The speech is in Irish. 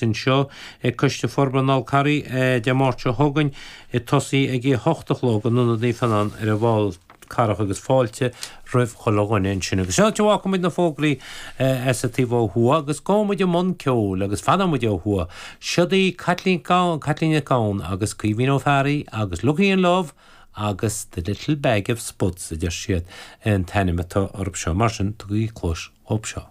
Anseo ag Coiste Forbartha an Fhál Carraigh Dé Máirt seo chugainn ag tosaí ag a 8 a chlog in Ionad Naomh Fionnán ar an bhFál Carrach agus fáilte roimh chuile dhuine ansin. Agus seo áit a bhfágfaidh muid na fógraí as an taobh ó thuaidh agus gabhfaidh muid i mbun ceoil agus fanfaidh muid ó thuaidh. Siod í Caitlín Caitlín Nic Gabhann agus Caoimhín Ó Fearraigh agus Looking in Love agus The Little Bag of Spuds a deir siad an t-ainm atá orthu seo. Mar sin, tugaigí cluas dhóibh seo.